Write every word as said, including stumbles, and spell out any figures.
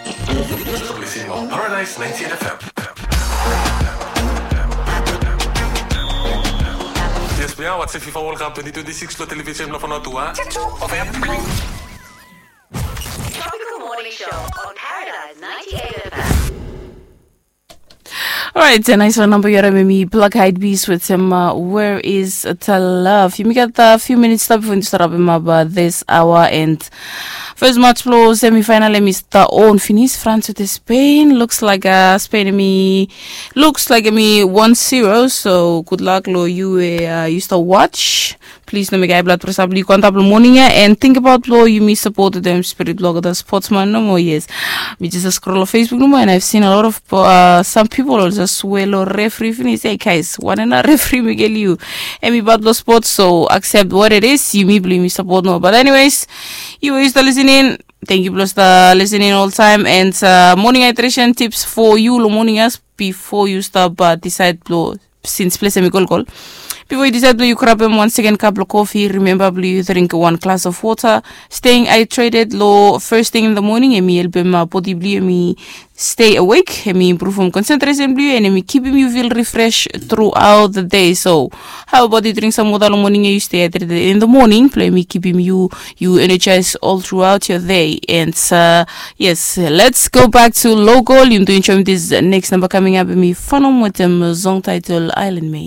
Listening on Paradise ninety-eight F M. Yes, we are watching FIFA World Cup twenty twenty-six lo television lo Fanotua. Tropical Morning Show on Paradise ninety-eight F M. Alright, a nice one number yara me mi Black Eyed Peas with him. Uh, where is the love? Yumi gat a few minutes stap before yumi start wrap him up uh, this hour and first match blo semifinal hemi start on finish France with Spain. Looks like uh, Spain hemi looks like hemi one zero. So good luck lo you uh, you start watch. Plis no mekim hae blad presa blong yu go antap long moning ya and tingbaot blong yumi sapot dem spirit blong olgeta spotsman nomo. Yes, mi jes skrol long Facebook nomo and I've seen a lot of uh, some people ol jes swe long refri finis. Hey guys, wanem nao refri mekem yu? Hemi bad blong spots, so accept what it is. Yumi blong yumi sapot nomo. But anyways, yu we yu stap listening, thank you blong stap listening oltaem and uh, morning hydration tips for you long moning ya before yu stap uh, decide blong since ples hemi kolkol. Bifo yu disaed blong yu grabem wan seken kap blong kofi, rimemba blong yu dring wan glas of wota. Staying hydrated long first thing in the morning hemi helpem bodi blong yu hemi stay awake, hemi impruvem konsentresen blong yu and hemi kipim yu fil refresh throughout the day. So how about yu dring sam wota long moning ya, yu stay hydrated in the morning blong hemi kipim yu yu energize all throughout your day. And uh, yes, let's go back to local. Yu do enjoy this next number coming up hemi fanom wetem song title Island Made.